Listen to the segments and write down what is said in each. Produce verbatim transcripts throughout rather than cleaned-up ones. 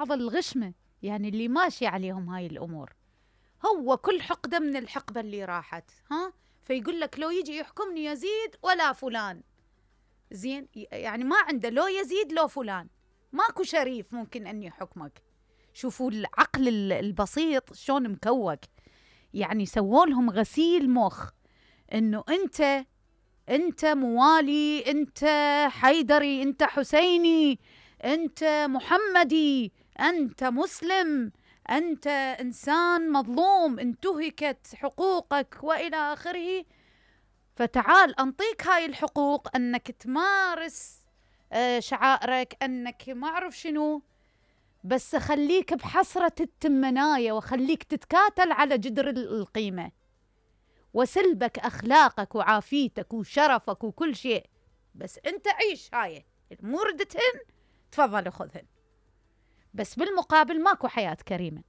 بعض الغشمة يعني اللي ماشي عليهم هاي الأمور، هو كل حقدة من الحقبة اللي راحت، ها فيقول لك لو يجي يحكمني يزيد ولا فلان، زين يعني ما عنده لو يزيد لو فلان، ماكو شريف ممكن أن يحكمك. شوفوا العقل البسيط شلون مكوك، يعني سووا لهم غسيل مخ انه انت انت موالي، انت حيدري، انت حسيني، انت محمدي، انت مسلم، انت انسان مظلوم انتهكت حقوقك والى اخره، فتعال انطيك هاي الحقوق انك تمارس شعائرك، انك ما اعرف شنو، بس اخليك بحسرة التمناية واخليك تتكاتل على جدر القيمة، وسلبك اخلاقك وعافيتك وشرفك وكل شيء، بس انت عيش هاي موردتهن تفضل خذهن، بس بالمقابل ماكو حياة كريمة.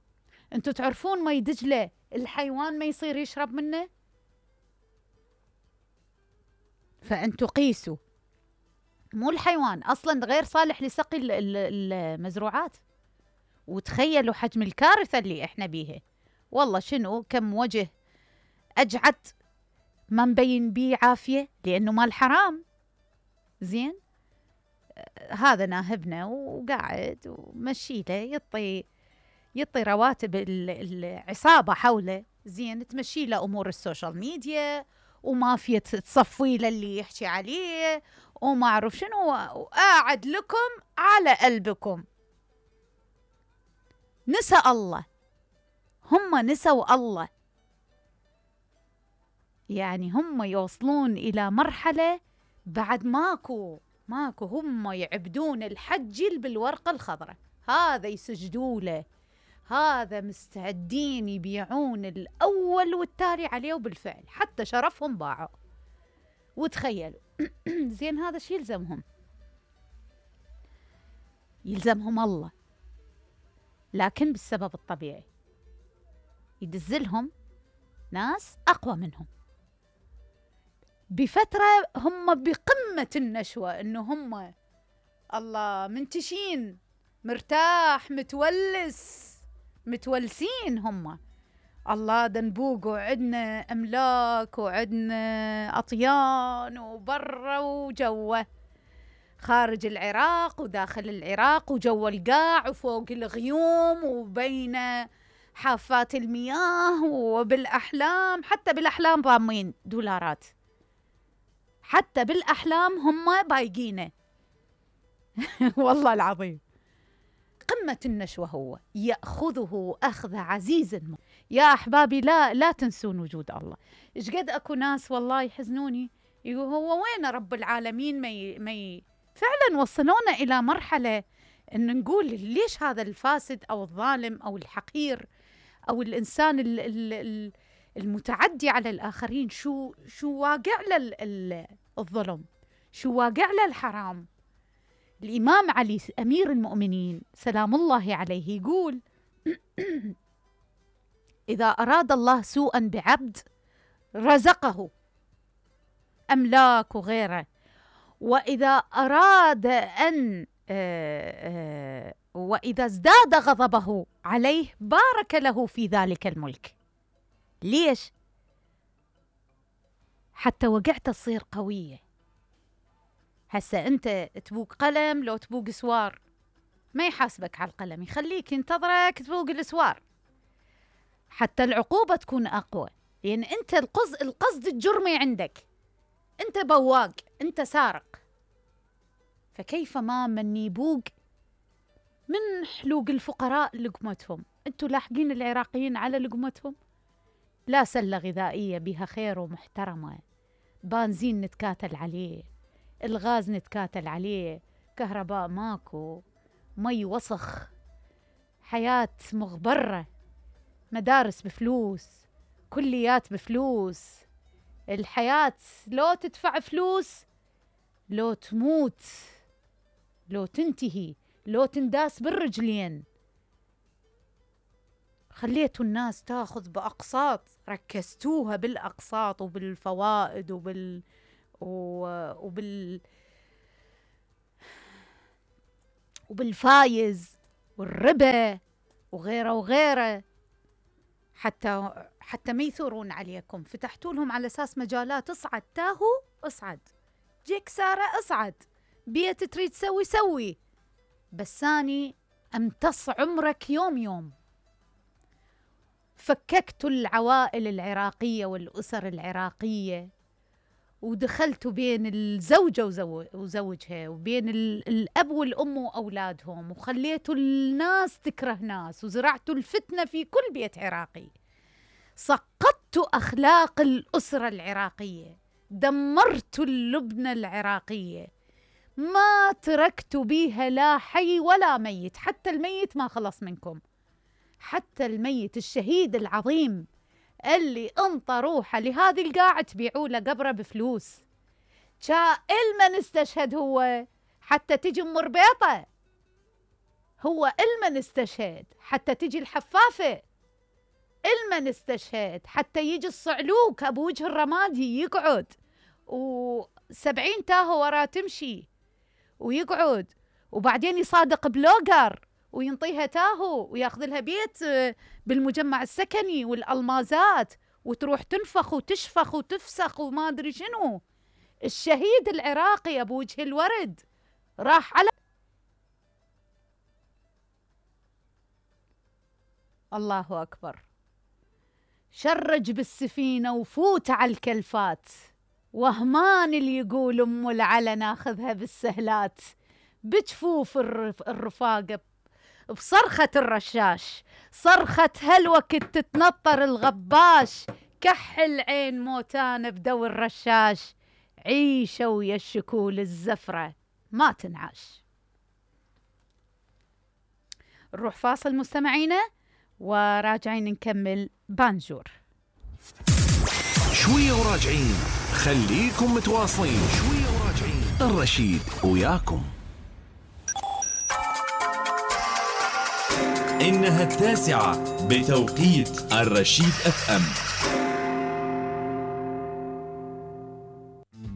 انتو تعرفون مي دجلة الحيوان ما يصير يشرب منه؟ فانتو قيسوا، مو الحيوان اصلا غير صالح لسقي المزروعات، وتخيلوا حجم الكارثة اللي احنا بيها. والله شنو كم وجه اجعد ما مبين بيه عافية لانه مال حرام. زين هذا ناهبنا وقاعد ومشيله يطي يطي رواتب العصابة حوله، زين تمشي له امور السوشيال ميديا ومافيا تصفي له اللي يحكي عليه وما اعرف شنو، وقاعد لكم على قلبكم. نسى الله، هم نسوا الله، يعني هم يوصلون إلى مرحلة بعد ماكو ماكو هم يعبدون الحجل بالورقة الخضراء، هذا يسجدوا له، هذا مستعدين يبيعون الأول والتالي عليه، وبالفعل حتى شرفهم باعوا. وتخيلوا زين هذا شي يلزمهم، يلزمهم الله، لكن بالسبب الطبيعي يدزلهم ناس أقوى منهم بفترة هم بقمة النشوة، إنه هم الله منتشين مرتاح متولس متولسين، هم الله دنبوق وعدنا أملاك وعدنا أطيان وبرا وجوه، خارج العراق وداخل العراق وجو القاع وفوق الغيوم وبين حافات المياه وبالأحلام، حتى بالأحلام ضامين دولارات، حتى بالأحلام هم بايقينه والله العظيم قمة النشوة، هو يأخذه أخذ عزيز. يا أحبابي لا لا تنسون وجود الله. إيش قد أكو ناس والله يحزنوني يقول هو وين رب العالمين، ما ي... ما ي... فعلا وصلونا إلى مرحلة إن نقول ليش هذا الفاسد أو الظالم أو الحقير أو الإنسان ال... ال... المتعدي على الآخرين شو شو واقع له الظلم، شو واقع له الحرام. الإمام علي أمير المؤمنين سلام الله عليه يقول إذا أراد الله سوءا بعبد رزقه أملاك وغيره، وإذا أراد أن وإذا ازداد غضبه عليه بارك له في ذلك الملك. ليش؟ حتى وقعت تصير قوية. هسا أنت تبوق قلم لو تبوق سوار ما يحاسبك على القلم، يخليك ينتظرك تبوق السوار حتى العقوبة تكون أقوى، لأن أنت القصد القصد الجرمي عندك، أنت بواق، أنت سارق، فكيف ما من يبوق من حلوق الفقراء لقمتهم. أنتوا لاحقين العراقيين على لقمتهم؟ لا سلة غذائية بها خير ومحترمة، بنزين نتكاتل عليه، الغاز نتكاتل عليه، كهرباء ماكو، مي وسخ، حياة مغبرة، مدارس بفلوس، كليات بفلوس، الحياة لو تدفع فلوس لو تموت لو تنتهي لو تنداس بالرجلين. خليتوا الناس تاخذ بأقساط، ركزتوها بالأقساط وبالفوائد وبال وبال وبالفايز والربا وغيره وغيره، حتى حتى ما يثورون عليكم. فتحتوا لهم على أساس مجالات، اصعد تاهو اصعد، جيك سارة اصعد، بيت تريد تسوي سوي، بس أني أمتص عمرك يوم يوم. فككتوا العوائل العراقية والأسر العراقية، ودخلتوا بين الزوجة وزوجها، وبين الأب والأم وأولادهم، وخليتوا الناس تكره ناس، وزرعتوا الفتنة في كل بيت عراقي. سقطتوا أخلاق الأسرة العراقية، دمرتوا اللبنة العراقية، ما تركتوا بيها لا حي ولا ميت. حتى الميت ما خلص منكم، حتى الميت الشهيد العظيم اللي انطى روحه لهذه القاعة تبيعوا له قبره بفلوس. جاء المن استشهد هو حتى تجي ام ربيطه، هو المن استشهد حتى تجي الحفافه، المن استشهد حتى يجي الصعلوك ابو وجه الرمادي يقعد، وسبعين تاهو وراه تمشي ويقعد، وبعدين يصادق بلوجر وينطيها تاهو وياخذ لها بيت بالمجمع السكني والألمازات، وتروح تنفخ وتشفخ وتفسخ وما أدري شنو. الشهيد العراقي أبو وجه الورد راح على الله أكبر، شرج بالسفينة وفوت على الكلفات، وهمان اللي يقول أم العلا ناخذها بالسهلات، بجفوف الرفاقة بصرخة الرشاش، صرخة هالوقت تتنطر الغباش، كحل عين موتانة بدو الرشاش، عيشة ويا الشكول الزفرة ما تنعاش. نروح فاصل مستمعينا وراجعين نكمل بانجور. شوية وراجعين، خليكم متواصلين. شوية وراجعين، الرشيد وياكم. إنها التاسعة بتوقيت الرشيد اف ام.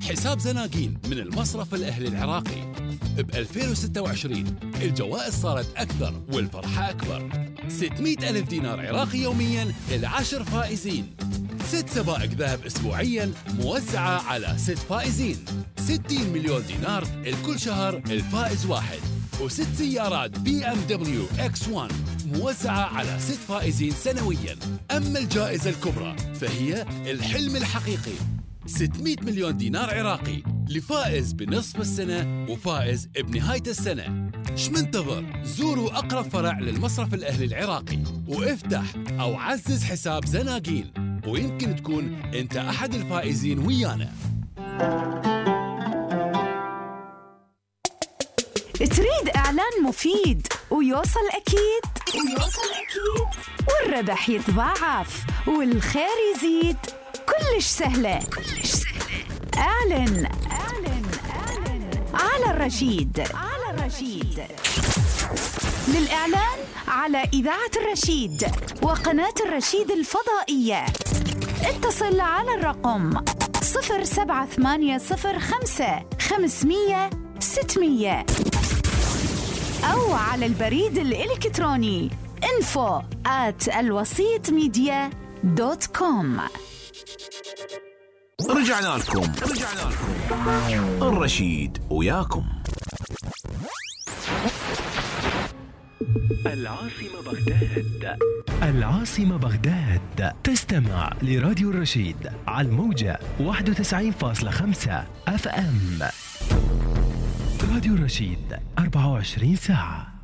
حساب زناقين من المصرف الأهلي العراقي ب ألفين وستة وعشرين الجوائز صارت أكثر والفرحة أكبر. ستمئة ألف دينار عراقي يومياً للعشر فائزين، ست سبائك ذهب أسبوعياً موزعة على ست فائزين، ستين مليون دينار لكل شهر الفائز واحد، وست سيارات بي ام دبليو اكس واحد موزعة على ست فائزين سنوياً. أما الجائزة الكبرى فهي الحلم الحقيقي، ستمئة مليون دينار عراقي لفائز بنصف السنة وفائز بنهاية السنة. ايش منتظر؟ زوروا أقرب فرع للمصرف الأهلي العراقي وافتح أو عزز حساب زناقين، ويمكن تكون أنت أحد الفائزين ويانا. تريد إعلان مفيد ويوصل أكيد ويوصل أكيد والربح يتضاعف والخير يزيد؟ كلش سهلة كلش سهلة. اعلن اعلن اعلن على الرشيد على الرشيد. للإعلان على إذاعة الرشيد وقناة الرشيد الفضائية اتصل على الرقم صفر سبعة ثمانية صفر خمسة خمسمية ستمية أو على البريد الإلكتروني info at الوسيط ميديا دوت كوم. رجعنا لكم رجعنا لكم الرشيد وياكم. العاصمة بغداد. العاصمة بغداد. تستمع لراديو الرشيد على الموجة واحد وتسعين فاصلة خمسة اف ام. راديو الرشيد أربعة وعشرين ساعة.